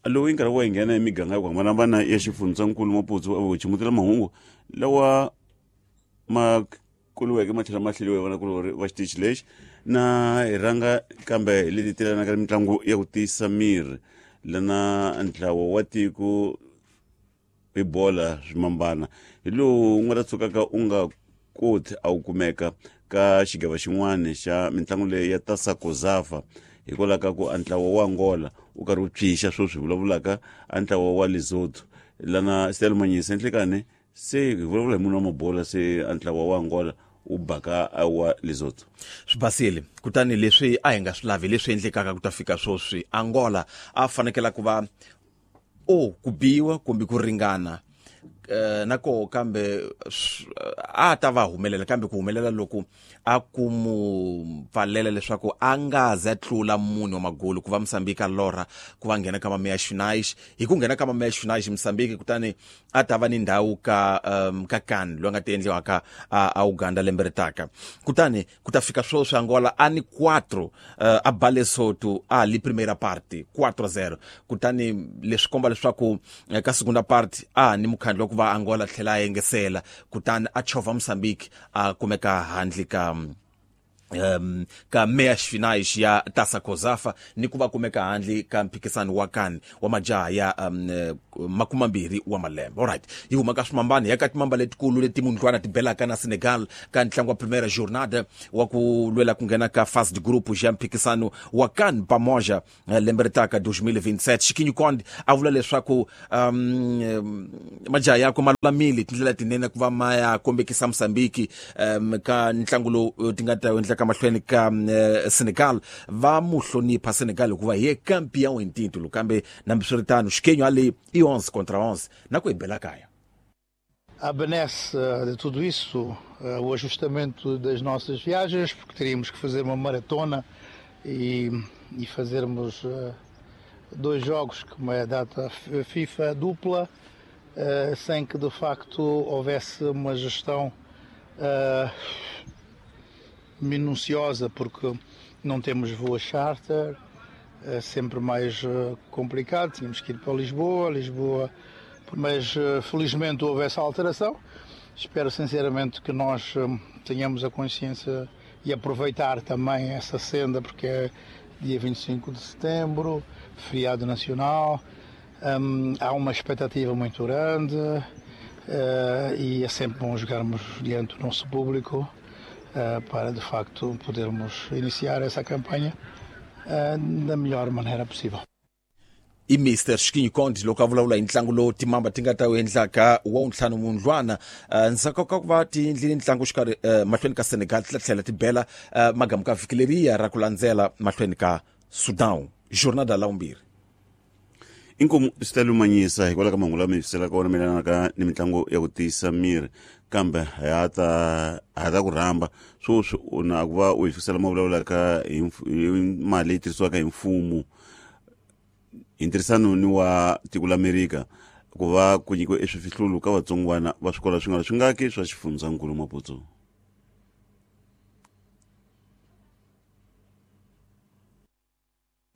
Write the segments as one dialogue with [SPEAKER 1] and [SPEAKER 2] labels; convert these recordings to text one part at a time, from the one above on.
[SPEAKER 1] Lowu i nkarhi wa hi nghena emiganga ya ku hambanahambana ya xifundzankulu Maputsu a chimutela mahungu lawa ma kuliweke ma tlhela ma hleliwa hi vanakulorhi va xitichi lexi na hi rhanga kambe hi leti telanaka ni mitlangu ya ku tiyisa miri lana ntlawa wa tiko hi bola swimambana hi lowu nga ta tshukaka u nga koti a wu kumeka ka xigava xin'wana xa mitlangu leyi ya tasakozafa hikwalaho ka ku a ntlawa wa Angola wu karhi wu pyixa sweswi hi vulavulaka a ntlawa wa Lesotho lana Stella Manyisa enhlekani se hi vulavula hi munhu wa mabola se a ntlawa wa Angola wu baka a wa Lesotho.
[SPEAKER 2] Swi basile kutani leswi a hi nga swi lavi leswi endlekaka ku ta fika sweswi Angola a fanekela ku va o ku biwa kumbe ku ringana na koho kambe a ta va humelela kambe ku humelela loku a ku mu pfalela leswaku a nga ze tlula mune wa magolo ku va Mozambique a lorha ku va nghena ka mameya Xinaish hi ku nghena ka mameya Xinaish Mozambique kutani a ta va ni ndhawu ka ka kan loyi a nga ti endliwaka a Uganda lembe ri taka kutani ku ta fika sweswi Angola a ni 4 a ba Lesotho a li primera parte 4-0 kutani leswi komba leswaku ka segunda parte a ni mukhandlu wa ku va Angola tlhela a engesela kutani a chovha Mozambique a kumeka handle ka ka meias finais ya Taça Cosafa ni ku va kumeka handle ka mphikisano wa kan wa majaha ya makumambirhi wa malembe. Alright, yi huma ka swimambani ya ka timamba letikulu leti mundlwana ti belaka na Senegal ka ntlangu wa primera jornada wa ku lwela ku nghena ka fast group ya mphikisano wa kan pamoja lembe ri taka 2027. Xikinyu Konde a vula leswaku majaha yakwe ma lulamile tindlela tinene ku va ma ya kombekisa Mozambique ka ntlangu lowu ti nga ta endleka mahlweni ka Senegal. Va mu hlonipha Senegal hikuva hi ye campeão em título, kambe nambiswiritano Xikenyu a le i 11 contra 11 na ku hi bela kaya.
[SPEAKER 3] A benesse de tudo isso, o ajustamento das nossas viagens, porque teríamos que fazer uma maratona e fazermos 2 jogos, como é a data FIFA dupla, sem que de facto houvesse uma gestão minuciosa, porque não temos voo charter, é sempre mais complicado, tínhamos que ir para Lisboa, mas felizmente houve essa alteração. Espero sinceramente que nós tenhamos a consciência e aproveitar também essa senda, porque é dia 25 de setembro, feriado nacional, há uma expectativa muito grande e é sempre bom jogarmos diante do nosso público para de facto podermos iniciar essa campanha da melhor maneira possível.
[SPEAKER 2] I Mister Xikinyu Konde loko a vulavula hi ntlangu lowu timamba ti nga ta wu endlaka wa wuntlhanu mundlwana. Ndzhaku ka ku va ti endlile ntlangu xikarhi mahlweni ka Senegal ti tlhela ti bela magamu ka vhiki leriya ra ku landzela mahlweni ka Sudan jornada la vumbirhi.
[SPEAKER 1] Inkomu swi ta lumanyisa hikwalaho ka mahungu lama hi fiselaka wona mayelana ni mitlangu ya ku tiyisa miri, kambe ha ta ku rhamba sweswi u na ku va u hi fikisela ma vulavulaka hi mali leyi tirhisiwaka hi mfumo hi ntirhisano ni wa tiko la Amerika ku va ku nyikiwe eswifihlulu ka vatsongwana va swikolo swi nga ri swingaki swa xifundzankulu Maputsu.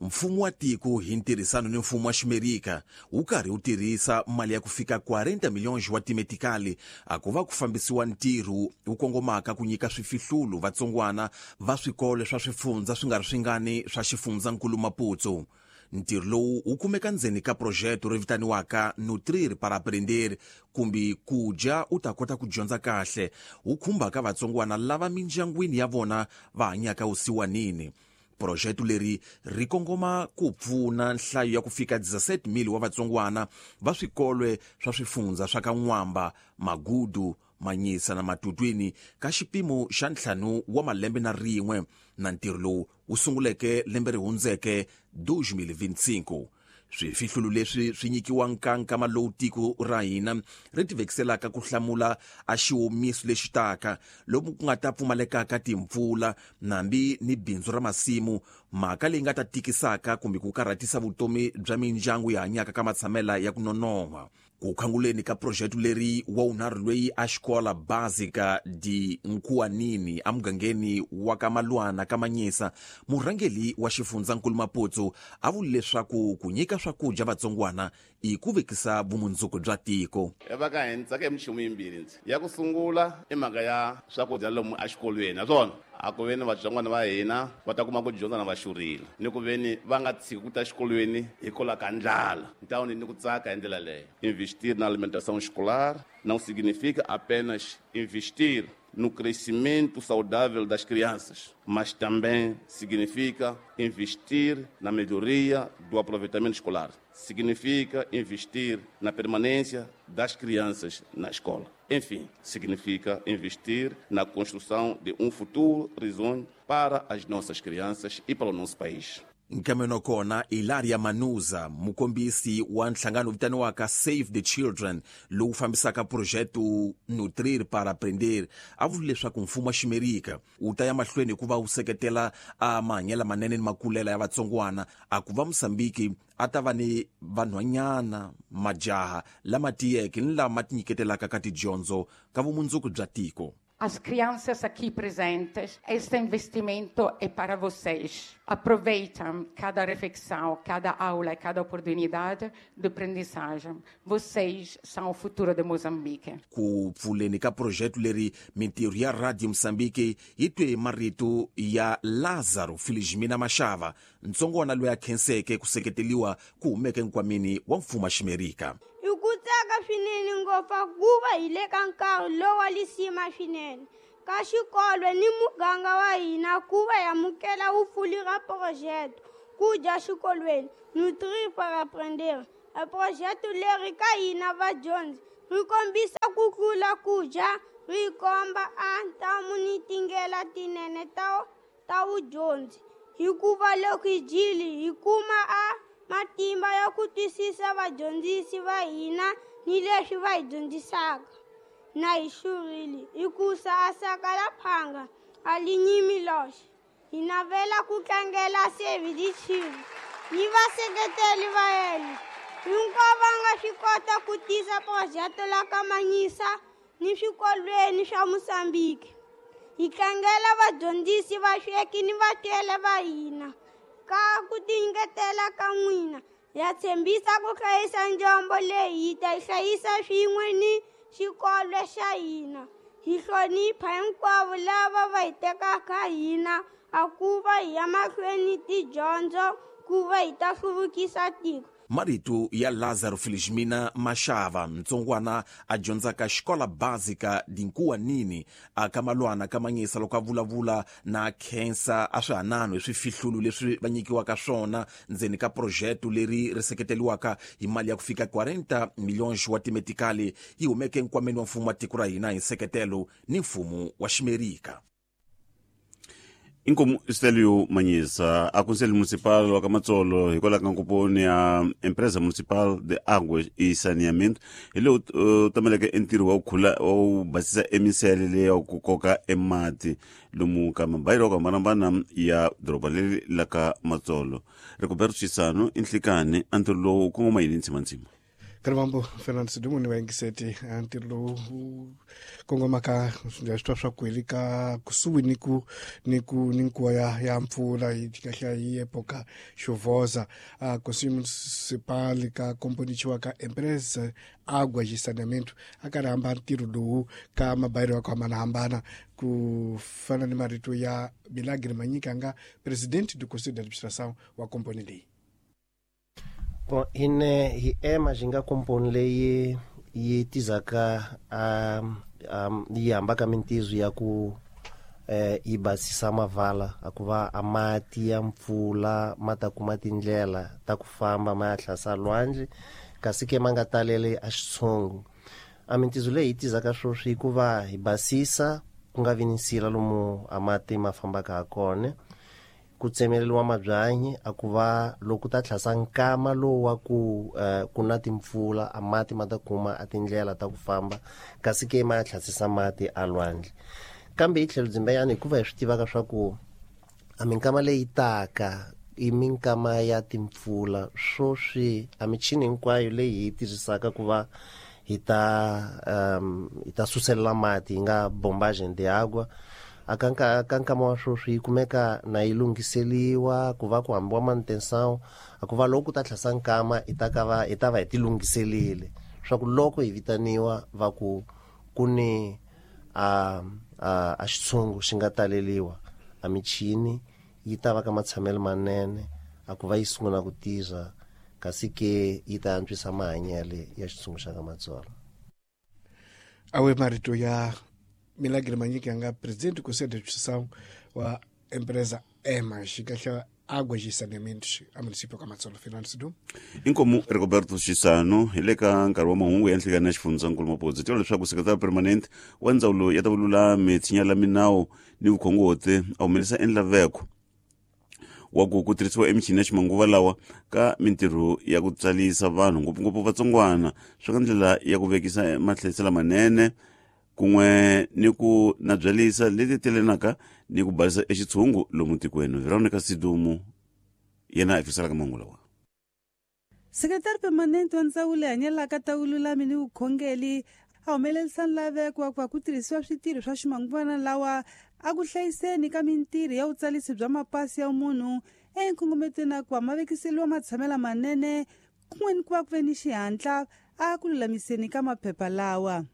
[SPEAKER 2] Mfumo wa tiko hi ntirhisano ni mfumo wa Ximerika wu karhi wu tirhisa mali ya ku fika 40 milhões wa timetikali a ku va ku fambisiwa ntirho wu kongomaka ku nyika swifihlulu vatsongwana va swikolo swa swifundza swi nga ri swingani swa xifundzankulu Maputsu. Ntirho lowu wu kumeka ndzeni ka projeto ri vitaniwaka Nutrir para Aprender kumbe ku dya u ta kota ku dyondza kahle, wu khumbaka vatsongwana lava mindyangwini ya vona va hanyaka vusiwanini. Projeto leri ri kongoma ku pfuna nhlayo ya ku fika 17,000 wa vatsongwana va swikolwe swa swifundza swa ka N'wamba, Magudu, Manyisa na Matutwini ka xipimo xa 5 wa malembe na rin'we, na ntirho lowu wu sunguleke lembe ri hundzeke 2025. Swifihlulu leswi swi nyikiwa nkankama lowu tiko ra hina ri tivekiselaka ku hlamula a xiwomiso lexi taka lomu ku nga ta pfumalekaka timpfula nambi ni bindzu ra masimu, mhaka leyi nga ta tikisaka kumbe ku karhatisa vutomi bya mindyangu yi hanyaka ka matshamela ya ku nonon'hwa. Ku khanguleni ka projeto leri wa wunharhu loyi a xikola básica de Nkuanini emugangeni wa ka Malwana ka Manyisa, murhangeri wa xifundzankulu Maputo a vule leswaku ku nyika swakudya vatsongwana i ku vekisa vumundzuku bya tiko.
[SPEAKER 4] Va ka hina tsaka hi minchumu yimbirhi ndzi ya ku sungula i mhaka ya swakudya lomu exikolweni naswona a ku veni vatsongwana va hina va ta kuma ku dyondza na va xurile ni ku veni va nga tshiki ku ta exikolweni hikwalaho ka ndlala ntawuni ni ku tsaka hi ndlela leyo. Investir na alimentação escolar não significa apenas investir no crescimento saudável das crianças, mas também significa investir na melhoria do aproveitamento escolar. Significa investir na permanência das crianças na escola. Enfim, significa investir na construção de um futuro risonho para as nossas crianças e para o nosso país.
[SPEAKER 2] Nkameno kona Ilaria Manuza, mukombisi wa nhlangano vitaniwaka Save the Children lowu fambisaka projeto Nutrir para Aprender, a vule leswaku mfumo wa Ximerika wu ta ya mahlweni ku va wu seketela a mahanyelo manene ni makulela ya vatsongwana, a ku va Mosambiki a ta va ni vanhwanyana majaha lama tiyeke ni lama tinyiketelaka ka tidyondzo ka vumundzuku bya tiko.
[SPEAKER 5] As crianças aqui presentes, este investimento é para vocês. Aproveitem cada refeição, cada aula e cada oportunidade de aprendizagem. Vocês são o futuro de Moçambique.
[SPEAKER 2] Ku pfuleni ka projeto leri, mintirho ya Radio Mosambiki yi twe marito ya Lazaro Felizmina Mashava, ntsongwana loyi a khenseke ku seketeliwa ku humeke nkwameni wa mfumo wa Ximerika.
[SPEAKER 6] Hi ku tsaka swinene ngopfu ku va hi le ka nkarhi lowa lisima swinene ka xikolo ni muganga wa hina ku va hi amukela vupfuli ra projeto ku dya xikolweni Nutrir para Aprender. A projeto leri ka hina vadyondzi ri kombisa ku tlula ku dya, ri komba a ntamu ni tindlela tinene ta vudyondzi, hikuva loko hi dyile hi kuma a matimba ya ku twisisa vadyondzisi va hina ni leswi va hi dyondzisaka. Na hi xurile hikusa a saka la phanga a li nyimi loxe. Hi navela ku tlangela Save the Children ni vaseketeli va yena hinkwavo va nga swi kota ku tisa projeto la ka Manyisa ni swikolweni swa Mosambiki. Hi tlangela vadyondzisi, vasweki ni vatswele va hina ka ku tinyiketela ka n'wina. Ya tshembisa ku hlayisa njombo leyi hi ta yi hlayisa swin'we ni xikolo xa hina. Hi hlonipha hinkwavo lava va hi tekaka hina a ku va hi ya mahlweni tidyondzo ku va hi ta hluvukisa tiko.
[SPEAKER 2] Marito ya Lazaro Felizmina Mashava, ntsongwana a dyondzaka xikola básica de Nkuanini a ka Malwana ka Manyisa, loko a vulavula na khensa a swihanano hi swifihlulu leswi va nyikiwaka swona ndzeni ka projeto leri ri seketeliwaka hi mali ya ku fika 40 milhões wa timetikali yi humeke nkwameni wa mfumo wa tiko ra hina hi nseketelo ni mfumo wa Ximerika.
[SPEAKER 1] Inkomu Stelio Manyisa, a Conselho Municipal wa ka Matsolo hikwalaho ka nkomponi ya Empresa Municipal de Águas e Saneamento hi lowu tameleke entirho wa ku khula wa ku basisa emisele leyi ya ku koka emati lomu ka mabayiro ya ku hambanahambana ya doroba leri la ka Matsolo. Rigoberto Chisano i nhlikani a ntirho lowu wu kongoma yini ntsimantsima?
[SPEAKER 7] Kalivambo Fernando Sidumo ni vayingiseti, ntirho lowu wu kongomaka swi twa swa ku hi le ka kusuhi ni ku ni ku ni nguva ya mpfula hi kahle hi epoca chuvosa, a Conselho Municipal ka komponichiwa ka Empresa Água de Saneamento a karhi hamba ntirho lowu ka mabayiro ya ku hambanahambana, ku fana ni marito ya Milagre Manyika nga presidente do Conselho de Administração wa komponi leyi.
[SPEAKER 8] Bon, hine hi ema xi nga komponi leyi yi tizaka yi hambaka mintizo ya ku yi basisa mavala a ku va a mati ya mpfula ma ta kuma tindlela ta ku famba ma ya hlasa lwandle, kasi ke ma nga taleli a xitshungu. A mintizo leyi yi tizaka sweswi ku va hi basisa ku nga vi ni nsila lomu a mati ma fambaka ha kona, ku tsemeleriwa mabyanyi a ku va loko ta tlhasa nkama lowu wa ku ku na timpfula a mati ma ta kuma a tindlela ta ku famba, kasi ke ma ya tlhasisa mati a lwandle. Kambe hi tlhelo dzimbeyani hikuva hi swi tivaka swa ku a minkama leyi taka I minkama ya timpfula swoswi a michini hinkwayo leyi hi tirhisaka ku va hi ta suselela mati hi nga bombagem de água a ka nkama wa swoswi yi kumeka na yi lunghiseliwa ku va ku hambiwa manutenção a ku va loko ku ta tlhasa nkama hi ta va hi ti lunghiselile swa ku loko hi vitaniwa va ku ku ni a xitshungu xi nga taleliwa a michini yi ta va ka matshamelo manene a ku va yi sungula ku tirha kasi ke yi ta antswisa mahanyelo ya xitshungu xa ka Matsolo.
[SPEAKER 7] Awe marito ya Milagre Manyika nga presidente do Conselho de Administração wa empresa EMAS xikahla Águas e Saneamentos a município ka Matsolo. Fernando Sidu.
[SPEAKER 1] Inkomu Rigoberto Xisano hi le ka nkarhi wa mahungu ya nhlikani ya xifundzankulu Mapudzi tiva leswaku sekretari permanent wa ndzawulo ya ta vululami tshinya la minawu ni vukhongoti a humelerisa endlaveko wa ku tirhisiwa emichini ya ximanguva lawa ka mintirho ya ku tsalisa vanhu ngopfungopfu vatsongwana swi ka ndlela ya ku vekisa mahlayiselo lamanene kun'we ni ku nabyalisa leti telenaka ni ku balisa exitshungu lomu tikweni. Veronica Sidumu yena a fiselaka mahungu lawa.
[SPEAKER 9] Sekretari permanente wa ndzawulo leyi hanyelaka ta vululami ni vukhongeli a humelerisa nlaveko wa ku va ku tirhisiwa switirho swa ximanguvana lawa a ku hlayiseni ka mintirho ya vutsalisi bya mapasi ya munhu enkongometweni na ku va ma vekiseliwa matshamelo manene kun'we ni ku va ku ve ni xihatla a ku lulamiseni ka maphepha lawa.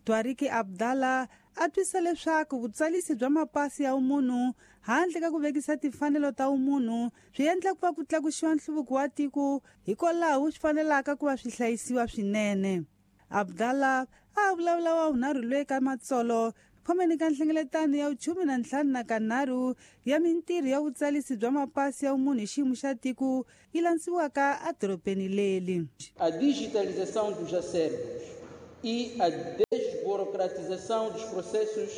[SPEAKER 9] Twariki Abdallah a twisa leswaku vutsalisi bya mapasi ya munhu handle ka ku vekisa timfanelo ta umunhu swi endla ku va ku tlakusiwa nhluvuko wa tiko hikwalaho swi fanelaka ku va swi hlayisiwa swinene. Abdallah a vulavula wa vunharhu loyi ka Matsolo khomeni ka nhlengeletano ya 15 ya mintirho ya vutsalisi bya mapasi ya umunhu hi xiyimo xa tiko yi landziwaka edorobeni leli.
[SPEAKER 10] A digitalização dos acervos e a desburocratização dos processos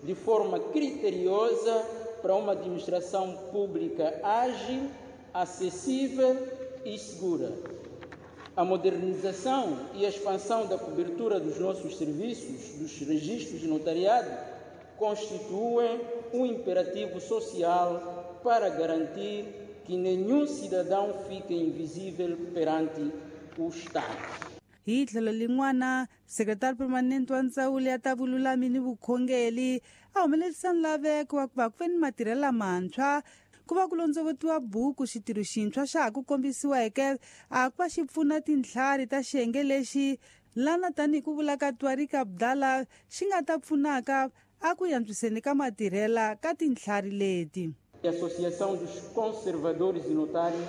[SPEAKER 10] de forma criteriosa para uma administração pública ágil, acessível e segura. A modernização e a expansão da cobertura dos nossos serviços, dos registros de notariado, constituem um imperativo social para garantir que nenhum cidadão fique invisível perante o Estado.
[SPEAKER 9] Hi tlhelo lin'wana sekretari permanente wa ndzawulo ya ta vululami ni vukhongeli a humelerisa nlaveko wa ku va ku ve ni matirhelo lamantshwa ku va ku londzovotiwa buku xitirho xintshwa xa ha ku kombisiweke a ku va xi pfuna tintlhari ta xiyenge lexi lana tanihi ku vula ka Twariki Abdallah xi nga ta pfunaka a ku antswiseni ka matirhela ka tintlhari leti.
[SPEAKER 10] A Associação dos Conservadores e Notários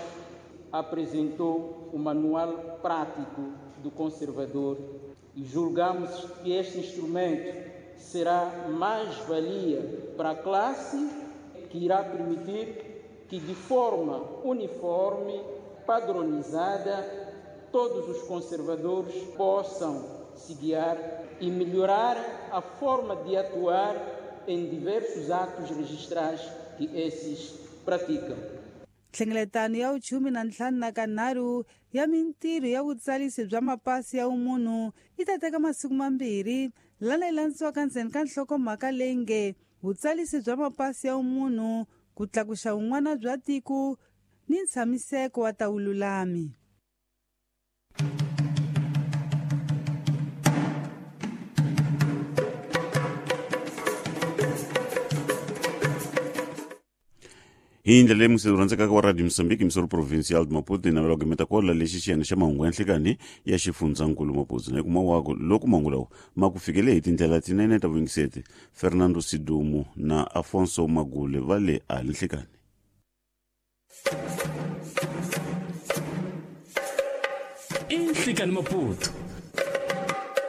[SPEAKER 10] apresentou o Manual Prático do Conservador e julgamos que este instrumento será mais-valia para a classe, que irá permitir que, de forma uniforme, padronizada, todos os conservadores possam se guiar e melhorar a forma de atuar em diversos atos registrais que esses praticam.
[SPEAKER 9] Nhlengeletano ya 15 ya mintirho ya vutsalisi bya mapasi ya umunhu yi ta teka masiku mambirhi lana yi landziwaka ndzeni ka nhlokomhaka leyi nge vutsalisi bya mapasi ya umunhu ku tlakuxa vun'wana bya tiko ni ntshamiseko wa ta vululami.
[SPEAKER 1] Hi ndlela leyi musi rhandzekaka wa Radio Mozambique misoro provincial de Maputo ni navela ku gimeta kwala lexi xiyenge xa mahungu ya nhlikani ya xifundzankulu Maputo na kuma wako loko mahungu lawa ma ku fikele hi tindlela tinene ta vuyingiseti Fernando Sidumu na Afonso Magule va le a nhlikani.
[SPEAKER 11] Nhlikani Maputo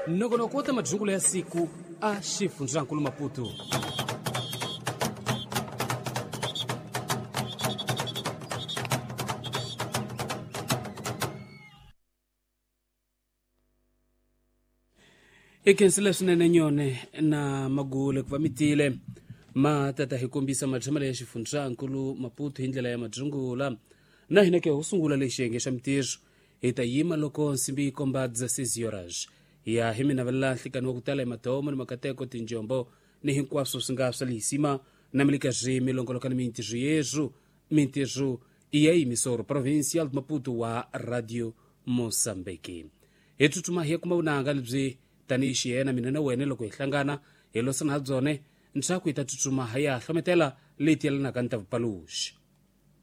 [SPEAKER 11] nongonoko wa ta madzungulo ya siku a xifundzankulu Maputo. I khensile swinene nyone na Magule ku va mi tile ma tata hi kombisa matshamelo ya xifundzankulu Maputo hi ndlela ya madzungula na hina ke ho sungula lexi xiyenge xa mintirho hi ta yima loko nsimbi yi komba 16 horas ya hi mi navelela nhlikani wa ku tala hi matomo ni makateko tinjombo ni hinkwaswo swi nga swa lehisima na mi le ka ri mi longoloka ni mintirho yeswo mintirho I ya emissor provincial de Maputo wa Radio Moçambique. Hi tsutsuma hi ya kuma vunanga lebyi tanihi xiyena mina na wena loko hi hlangana hi losana ha byone ntshaku hi ta tsutsuma hi ya hlometela leti yelanaka ni ta vupaluxi.